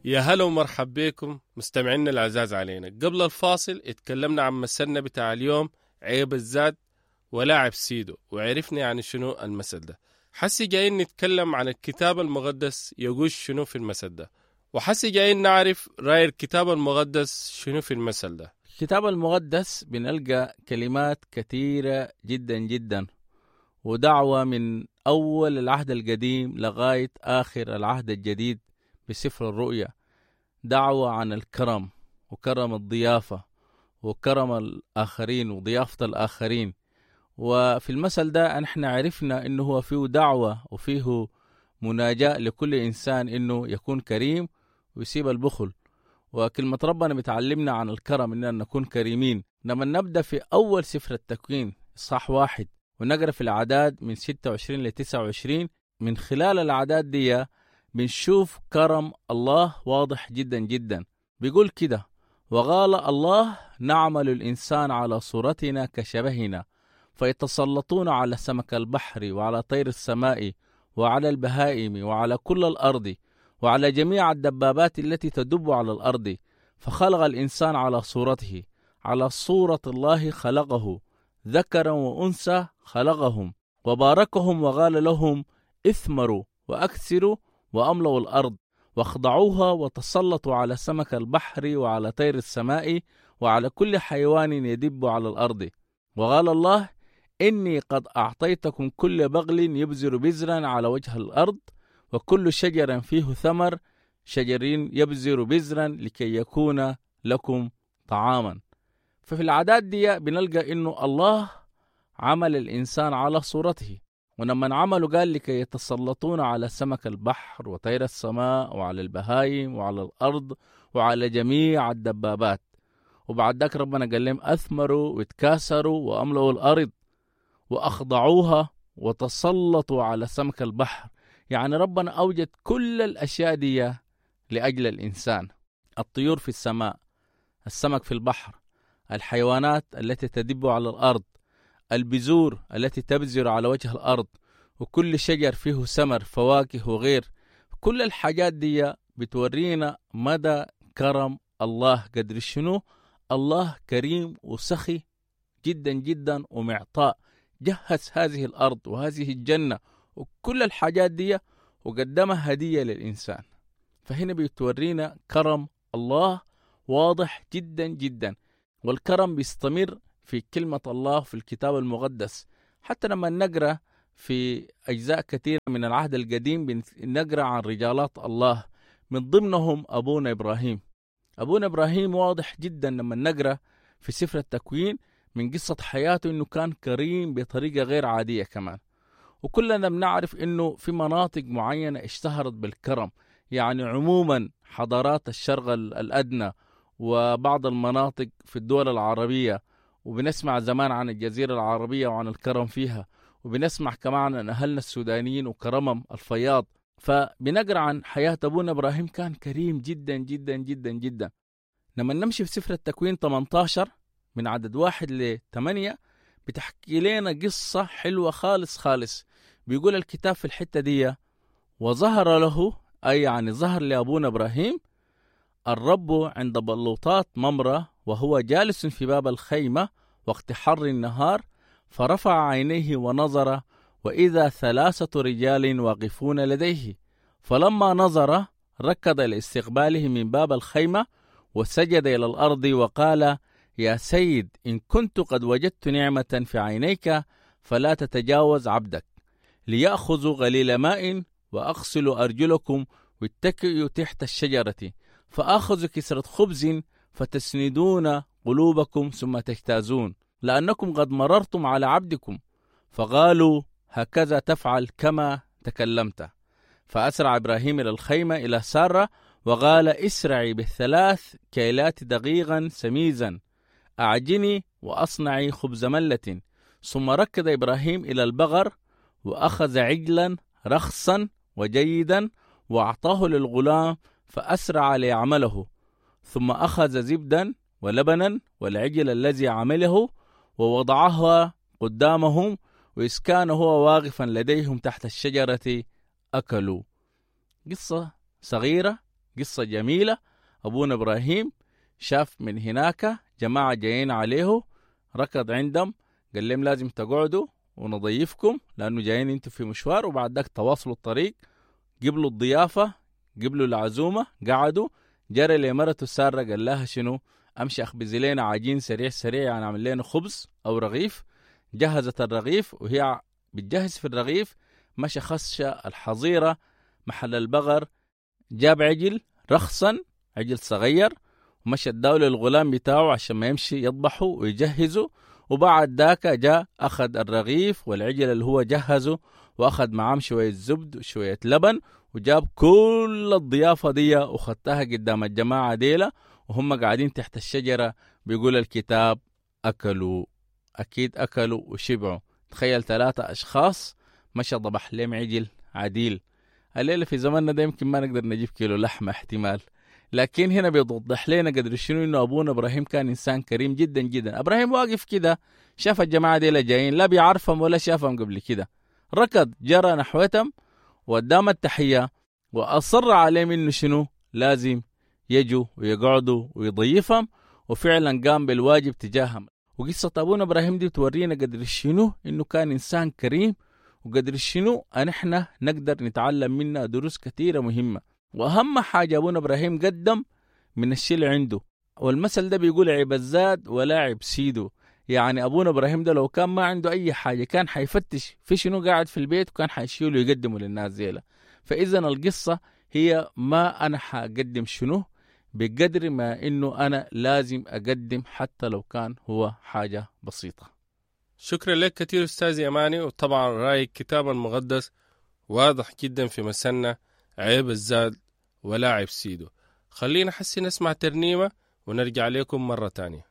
يا هلا ومرحب بكم مستمعينا العزاز علينا. قبل الفاصل اتكلمنا عن مثلنا بتاع اليوم، عيب الزاد ولاعب سيدو، وعرفنا يعني شنو المثل ده. حسي جايين نتكلم عن الكتاب المقدس يقول شنو في المثل ده، وحسي جايين نعرف رأي الكتاب المقدس شنو في المثل ده. الكتاب المقدس بنلقى كلمات كثيرة جدا جدا، ودعوة من أول العهد القديم لغاية آخر العهد الجديد بسفر الرؤيا، دعوة عن الكرم وكرم الضيافة وكرم الآخرين وضيافة الآخرين. وفي المثل ده نحن عرفنا إنه هو فيه دعوة وفيه مناجاة لكل إنسان إنه يكون كريم ويسيب البخل. وكلمة ربنا بتعلمنا عن الكرم إننا نكون كريمين. لما نبدأ في أول سفر التكوين إصحاح 1 ونقرأ في الأعداد من 26 ل 29، من خلال الأعداد دي بنشوف كرم الله واضح جدا جدا. بيقول كده: وقال الله نعمل الإنسان على صورتنا كشبهنا، فيتسلطون على سمك البحر وعلى طير السماء وعلى البهائم وعلى كل الأرض وعلى جميع الدبابات التي تدب على الأرض. فخلق الإنسان على صورته، على صورة الله خلقه، ذكرا وأنثى خلقهم، وباركهم وقال لهم اثمروا وأكثروا وأملوا الأرض واخضعوها وتسلطوا على سمك البحر وعلى طير السماء وعلى كل حيوان يدب على الأرض. وقال الله إني قد أعطيتكم كل بغل يبذر بذرا على وجه الأرض، وكل شجر فيه ثمر شجر يبذر بذرا لكي يكون لكم طعاما. ففي العادات دي بنلقى إنه الله عمل الإنسان على صورته، ولما عملوا قال لكي يتسلطون على سمك البحر وطير السماء وعلى البهائم وعلى الأرض وعلى جميع الدبابات. وبعد ذاك ربنا قال لهم أثمروا واتكاثروا وأملوا الأرض وأخضعوها وتسلطوا على سمك البحر. يعني ربنا أوجد كل الأشياء دي لأجل الإنسان: الطيور في السماء، السمك في البحر، الحيوانات التي تدب على الأرض، البذور التي تبذر على وجه الأرض، وكل شجر فيه ثمر فواكه وغير. كل الحاجات دي بتورينا مدى كرم الله، قدر شنو الله كريم وسخي جدا جدا ومعطاء. جهز هذه الأرض وهذه الجنة وكل الحاجات دي وقدمها هدية للإنسان. فهنا بتورينا كرم الله واضح جدا جدا، والكرم بيستمر في كلمة الله في الكتاب المقدس. حتى لما نقرأ في أجزاء كثيرة من العهد القديم بنقرأ عن رجالات الله، من ضمنهم أبونا إبراهيم. أبونا إبراهيم واضح جدا لما نقرأ في سفر التكوين من قصة حياته إنه كان كريم بطريقة غير عادية كمان. وكلنا بنعرف إنه في مناطق معينة اشتهرت بالكرم، يعني عموما حضارات الشرق الأدنى وبعض المناطق في الدول العربية، وبنسمع زمان عن الجزيرة العربية وعن الكرم فيها، وبنسمع كمان عن أهلنا السودانيين وكرمهم الفياض. فبنقرأ عن حياة أبونا إبراهيم كان كريم جدا جدا جدا جدا. لما نمشي في سفر التكوين 18 من عدد 1 ل 8 بتحكي لنا قصة حلوة خالص خالص. بيقول الكتاب في الحتة دي: وظهر له، أي يعني ظهر لأبونا إبراهيم الرب عند بلوطات ممرة وهو جالس في باب الخيمة وقت حر النهار، فرفع عينيه ونظر وإذا 3 رجال واقفون لديه، فلما نظر ركض لاستقباله من باب الخيمة وسجد إلى الأرض وقال: يا سيد، إن كنت قد وجدت نعمة في عينيك فلا تتجاوز عبدك، ليأخذوا غليل ماء وأغسلوا أرجلكم واتكئوا تحت الشجرة، فأخذ كسرة خبز فتسندون قلوبكم ثم تجتازون، لأنكم قد مررتم على عبدكم. فقالوا: هكذا تفعل كما تكلمت. فأسرع إبراهيم إلى الخيمة إلى سارة وقال: اسرعي ب3 كيلات دقيقا سميزا، أعجني وأصنعي خبز ملة. ثم ركض إبراهيم إلى البقر وأخذ عجلا رخصا وجيدا وأعطاه للغلام فأسرع ليعمله. ثم أخذ زبدا ولبنا والعجل الذي عمله ووضعها قدامهم، وإذ كان هو واقفا لديهم تحت الشجرة أكلوا. قصة صغيرة قصة جميلة. أبونا إبراهيم شاف من هناك جماعة جايين عليه، ركض عندهم قال لهم لازم تقعدوا ونضيفكم لأنه جايين انتوا في مشوار، وبعد ذاك تواصلوا الطريق. قبلوا الضيافة، قبلوا العزومة، قعدوا. جرى لمرته سارة قال لها شنو؟ أمشي أخبز لنا عجين سريع سريع، يعني أعمل لنا خبز أو رغيف. جهزت الرغيف، وهي بتجهز في الرغيف مشى خش الحظيرة محل البقر، جاب عجل رخصا، عجل صغير، ومشى اداه للغلام بتاعه عشان ما يمشي يذبحه ويجهزه. وبعد ذاك جاء أخذ الرغيف والعجل اللي هو جهزه، وأخذ معاه شوية زبد وشوية لبن، وجاب كل الضيافة دي وخدتها قدام الجماعة ديلا، وهم قاعدين تحت الشجرة. بيقول الكتاب أكلوا، أكيد أكلوا وشبعوا. تخيل 3 أشخاص مشى ضبح لهم عجل عديل. الليلة في زماننا ده يمكن ما نقدر نجيب كيلو لحمة احتمال، لكن هنا بيوضح لنا قدر شنو إنه أبونا إبراهيم كان إنسان كريم جدا جدا. إبراهيم واقف كده شاف الجماعة ديلا جايين، لا بيعرفهم ولا شافهم قبل كده، ركض جرى نحوتهم وقدام التحية، وأصر عليهم إنه شنو لازم يجوا ويقعدوا ويضيفهم، وفعلا قام بالواجب تجاههم. وقصة أبونا إبراهيم دي تورينا قدر شنو إنه كان إنسان كريم، وقدر شنو نحن نقدر نتعلم منه دروس كثيرة مهمة. وأهم حاجة أبونا إبراهيم قدم من الشيء اللي عنده، والمثل ده بيقول عيب الزاد ولا عيب سيده. يعني أبونا إبراهيم ده لو كان ما عنده أي حاجة كان حيفتش في شنو قاعد في البيت، وكان حيشيله ويقدمه للناس زيله. فإذا القصة هي ما أنا حقدم شنو بقدر ما إنه أنا لازم أقدم حتى لو كان هو حاجة بسيطة. شكرا لك كثير أستاذ يماني. وطبعا رأي الكتاب المقدس واضح جدا في مثلنا عيب الزاد ولا عيب سيده. خلينا حسي نسمع ترنيمة ونرجع لكم مرة تانية.